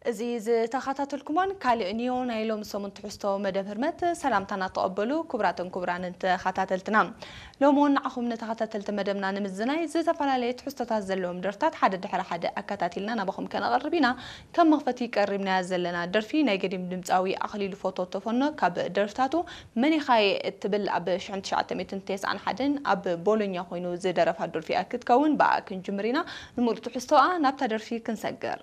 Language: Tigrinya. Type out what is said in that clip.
እዚ ዝተኸታተልኩሞን ካልእ ኒዮ ናይ ሎም ሰሙን ትሕዝቶ መደብ ህርመት ሰላምታና ተቐበሉ። ክቡራትን ክቡራንን ተኸታተልትና፣ ሎም እውን ንዓኹም ንተኸታተልቲ መደብና ንምዝናይ ዝተፈላለየ ትሕዝቶታት ዘለዎም ደርፍታት ሓደ ድሕሪ ሓደ ኣከታቲልና ናባኹም ከነቐርብ ኢና። ከም መኽፈቲ ቀሪብናያ ዘለና ደርፊ ናይ ገዲም ድምፃዊ ኣኽሊሉ ፎቶ ተፈኖ ካብ ደርፍታቱ መኒኻየ እትብል ኣብ ሽሕን ትሽዓተ ሚእትን ተስዓን ሓደን ኣብ ቦሎኛ ኮይኑ ዝደረፋ ደርፊ ክትከውን ብኣ ክንጅምር ኢና። ንምሉእ ትሕዝቶኣ ናብታ ደርፊ ክንሰግር።